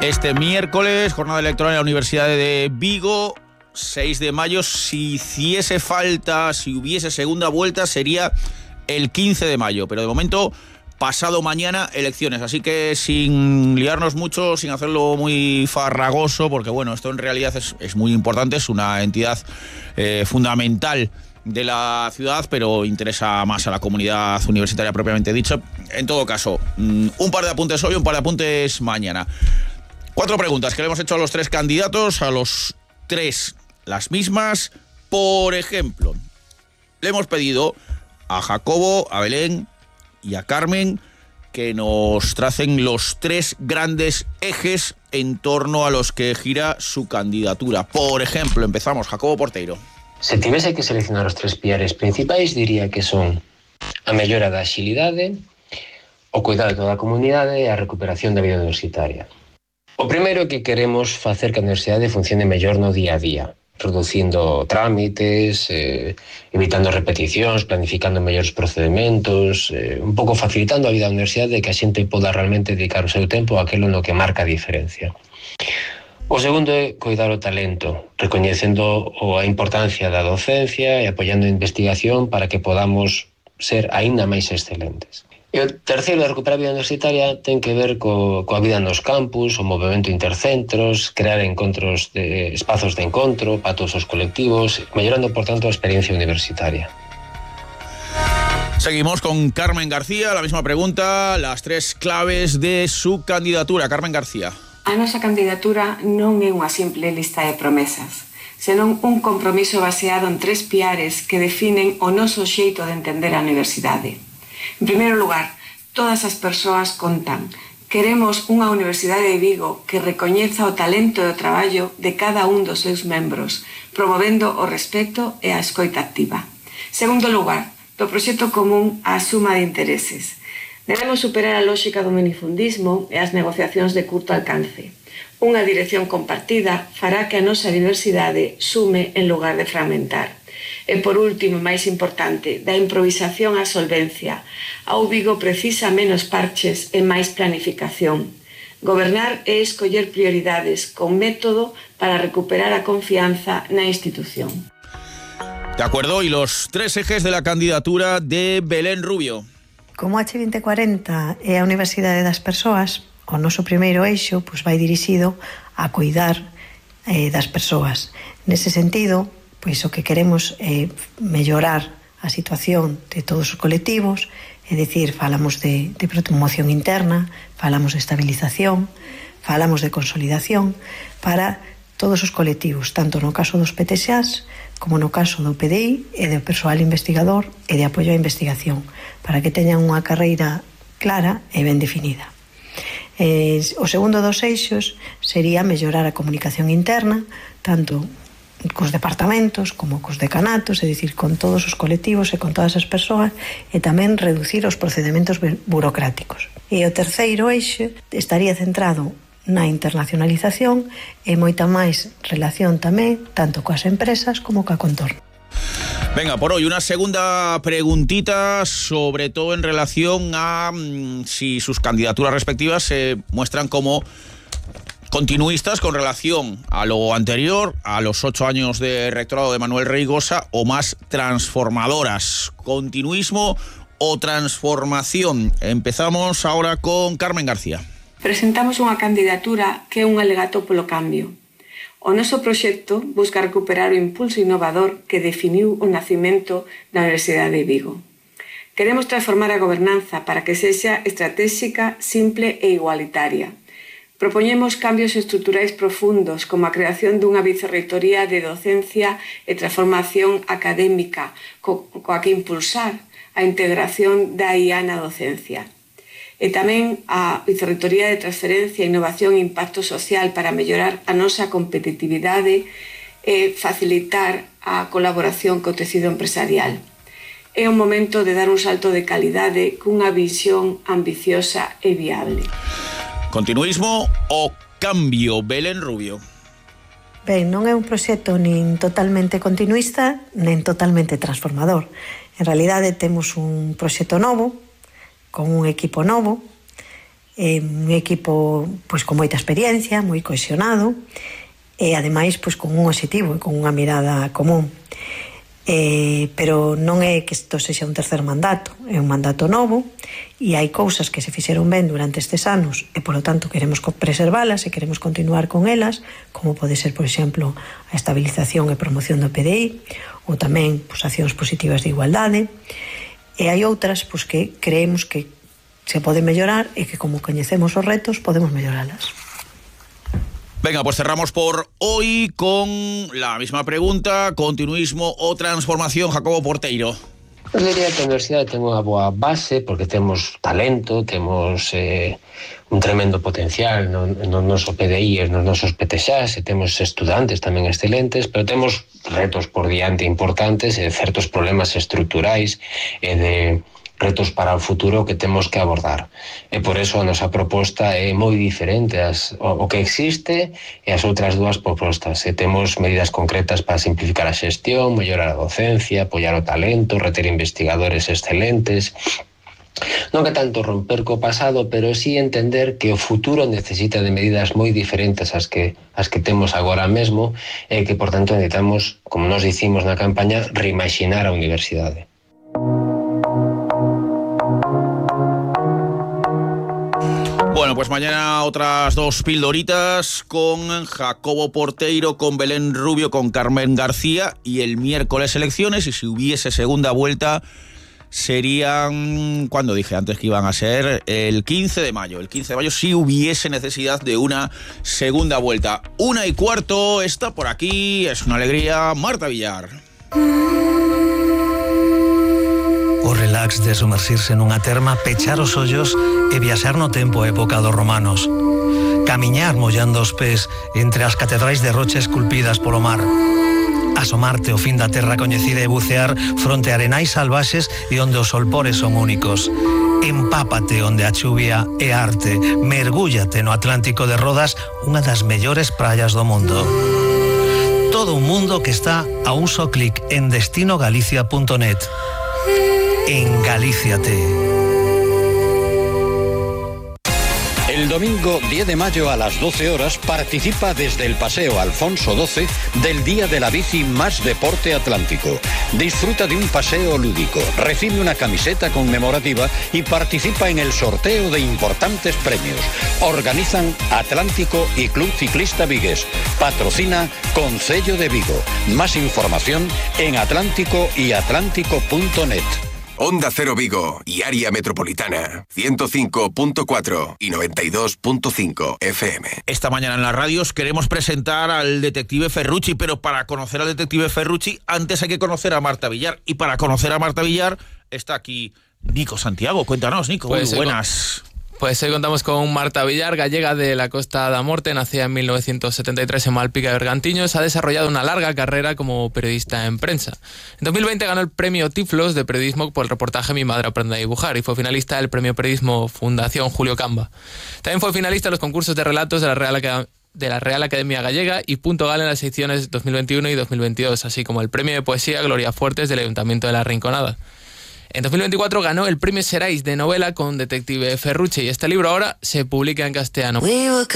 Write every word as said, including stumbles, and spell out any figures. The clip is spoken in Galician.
Este miércoles, jornada electoral en la Universidad de Vigo, seis de mayo. Si hiciese falta, si hubiese segunda vuelta, sería el quince de mayo. Pero de momento, pasado mañana, elecciones. Así que sin liarnos mucho, sin hacerlo muy farragoso, porque bueno, esto en realidad es, es muy importante, es una entidad eh, fundamental de la ciudad, pero interesa más a la comunidad universitaria propiamente dicha. En todo caso, un par de apuntes hoy, un par de apuntes mañana. Cuatro preguntas que le hemos hecho a los tres candidatos, a los tres las mismas. Por ejemplo, le hemos pedido a Jacobo, a Belén y a Carmen que nos tracen los tres grandes ejes en torno a los que gira su candidatura. Por ejemplo, empezamos, Jacobo Porteiro. Se tivese que seleccionar os tres piares principais, diría que son a mellora da axilidade, o cuidado de toda a comunidade e a recuperación da vida universitaria. O primeiro é que queremos facer que a universidade funcione mellor no día a día, reducindo trámites, eh, evitando repeticións, planificando mellores procedementos, eh, un pouco facilitando a vida da universidade e que a xente poda realmente dedicar o seu tempo a aquilo no que marca a diferencia. O segundo é cuidar o talento, recoñecendo a importancia da docencia e apoiando a investigación para que podamos ser aínda máis excelentes. E o terceiro, de recuperar a vida universitaria, ten que ver co, coa vida nos campus, o movimento intercentros, crear encontros de espazos de encontro para todos os colectivos, mellorando, por tanto, a experiencia universitaria. Seguimos con Carmen García, la misma pregunta, las tres claves de su candidatura. Carmen García. A nosa candidatura non é unha simple lista de promesas, senón un compromiso baseado en tres piares que definen o noso xeito de entender a universidade. En primeiro lugar, todas as persoas contan. Queremos unha Universidade de Vigo que recoñeza o talento e o traballo de cada un dos seus membros, promovendo o respeto e a escoita activa. Segundo lugar, do proxecto común á suma de intereses. Debemos superar a lógica do minifundismo e as negociacións de curto alcance. Unha dirección compartida fará que a nosa diversidade sume en lugar de fragmentar. E por último, máis importante, da improvisación á solvencia. Ao Vigo precisa menos parches e máis planificación. Gobernar é escoller prioridades con método para recuperar a confianza na institución. De acuerdo, y los tres ejes de la candidatura de Belén Rubio. Como H vinte cuarenta é a Universidade das Persoas, o noso primeiro eixo pois, vai dirixido a cuidar eh, das persoas. Nese sentido, pois o que queremos é mellorar a situación de todos os colectivos, é dicir, falamos de, de promoción interna, falamos de estabilización, falamos de consolidación para todos os colectivos, tanto no caso dos P T Xas como no caso do P D I e do persoal investigador e de apoio á investigación, para que teñan unha carreira clara e ben definida. Eh, o segundo dos eixos sería mellorar a comunicación interna, tanto cos departamentos como cos decanatos, é dicir, con todos os colectivos e con todas as persoas, e tamén reducir os procedementos burocráticos. E o terceiro eixo estaría centrado na internacionalización e moita máis relación tamén tanto coas empresas como coa contorno. Venga, por hoy una segunda preguntita, sobre todo en relación a mmm, si sus candidaturas respectivas se muestran como continuistas con relación a lo anterior, a los ocho años de rectorado de Manuel Reigosa, o más transformadoras. Continuismo o transformación. Empezamos ahora con Carmen García. Presentamos unha candidatura que é un alegato polo cambio. O noso proxecto busca recuperar o impulso innovador que definiu o nacimento da Universidade de Vigo. Queremos transformar a gobernanza para que sexa estratégica, simple e igualitaria. Propoñemos cambios estruturais profundos, como a creación dunha vicerreitoría de docencia e transformación académica, co- coa que impulsar a integración da I A na docencia. E tamén a Vicerreitoría de Transferencia, Innovación e Impacto Social para mellorar a nosa competitividade e facilitar a colaboración co tecido empresarial. É un momento de dar un salto de calidade cunha visión ambiciosa e viable. Continuismo o cambio, Belén Rubio. Ben, non é un proxecto nin totalmente continuista, nen totalmente transformador. En realidade temos un proxecto novo, con un equipo novo, eh, un equipo pois con moita experiencia, moi cohesionado, e ademais pois con un objetivo e con unha mirada común. Eh, pero non é que isto sexa un tercer mandato, é un mandato novo e hai cousas que se fixeron ben durante estes anos e polo tanto queremos preservalas e queremos continuar con elas, como pode ser, por exemplo, a estabilización e promoción do P D I ou tamén pois, accións positivas de igualdade, e hai outras pois, que creemos que se pode mellorar e que como coñecemos os retos podemos melloralas. Venga, pues cerramos por hoy con la misma pregunta, continuismo o transformación, Jacobo Porteiro. Eu diría que a universidade ten unha boa base porque temos talento, temos eh, un tremendo potencial no, no noso P D I e nos nosos P T Xas, e temos estudantes tamén excelentes, pero temos retos por diante importantes e certos problemas estruturais e de retos para o futuro que temos que abordar. E por eso a nosa proposta é moi diferente as, o, o que existe e as outras dúas propostas. E temos medidas concretas para simplificar a xestión, mellorar a docencia, apoiar o talento, reter investigadores excelentes. Non que tanto romper co pasado, pero sí entender que o futuro necesita de medidas moi diferentes ás que, as que temos agora mesmo e que, por tanto, necesitamos, como nos dicimos na campaña, reimaginar a universidade. Bueno, pues mañana otras dos pildoritas con Jacobo Porteiro, con Belén Rubio, con Carmen García, y el miércoles elecciones, y si hubiese segunda vuelta serían, cuando dije antes que iban a ser, el quince de mayo. El quince de mayo si hubiese necesidad de una segunda vuelta. Una y cuarto, está por aquí, es una alegría, Marta Villar. O relax de sumerxirse nunha terma, pechar os ollos e viaxar no tempo a época dos romanos. Camiñar mollando os pés entre as catedrais de rocha esculpidas polo mar. Asomarte ao fin da terra coñecida e bucear fronte a arenais salvaxes e onde os solpores son únicos. Empápate onde a chuvia é arte. Mergúllate no Atlántico de Rodas, unha das mellores praias do mundo. Todo un mundo que está a un só clic en destino galicia punto net. Engalíciate. El domingo diez de mayo a las doce horas participa desde el Paseo Alfonso doce del Día de la Bici Más Deporte Atlántico. Disfruta de un paseo lúdico, recibe una camiseta conmemorativa y participa en el sorteo de importantes premios. Organizan Atlántico y Club Ciclista Vigués. Patrocina Concello de Vigo. Más información en atlántico y atlántico punto net. Onda Cero Vigo y área metropolitana, ciento cinco punto cuatro y noventa y dos punto cinco F M. Esta mañana en las radios queremos presentar al detective Ferrucci, pero para conocer al detective Ferrucci antes hay que conocer a Marta Villar. Y para conocer a Marta Villar está aquí Nico Santiago. Cuéntanos, Nico, pues muy buenas. Pues hoy contamos con Marta Villar, gallega de la Costa da Morte, nacida en mil novecientos setenta y tres en Malpica de Bergantiños. Ha desarrollado una larga carrera como periodista en prensa. En dos mil veinte ganó el premio Tiflos de periodismo por el reportaje Mi madre aprende a dibujar y fue finalista del premio Periodismo Fundación Julio Camba. También fue finalista en los concursos de relatos de la Real Academia de la Real Academia Gallega y punto gal en las ediciones dos mil veintiuno y dos mil veintidós, así como el premio de poesía Gloria Fuertes del Ayuntamiento de La Rinconada. En dos mil veinticuatro ganó el premio Xerais de novela con Detective Ferrucci y este libro ahora se publica en castellano.